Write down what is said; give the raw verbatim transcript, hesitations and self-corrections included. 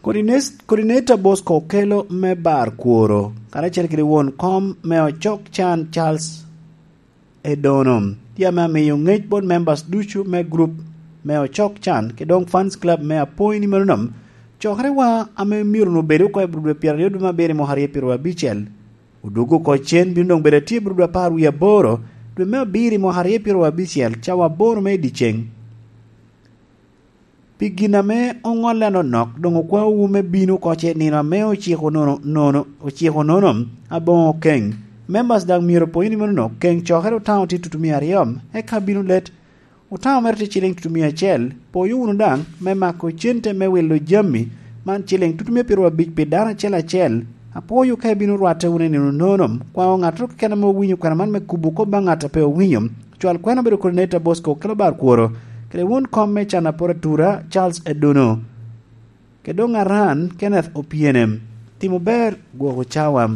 Coordinator Bosco Okello me bar kworo karacel kede won kom me ocok can Charles Edono tye me amiyo ngec bot members ducu me group me ocok can ki dong fans club me apoi ni meno cokere wa ame myero obedo ko i dwe pyero aryo dwe me abiro mwaka aryo pyero abicel odugo ko cen bino dong bedo tye dwe apar wiye aboro dwe me abiro mwaka aryo pyero abicel cawa aboro me dyeceng pi gin ame ongole anonok dong okwaowu me bino koce nino ame ociko nono nono ociko nono abongo keng members dang myero poi ni meno keng cokere otao tye tutu mia aryo eka bino let otao mere tye ciling tutu mia acel poyo wunu dang me mako cente me wilo jami man ciling tutu mia piero abic pi dano acel acel apoyo ka ibino rwatte wunu i nino nono kwao ng'at keken ame owinyo kwena man me kubo ko ba ng'at pe owinyo cwal kwena bedo coordinator Bosco Okello bar kworo kede won kom me can apora tura Charles Edono kedong aran Kenneth Opiene timo ber gwoko cawa.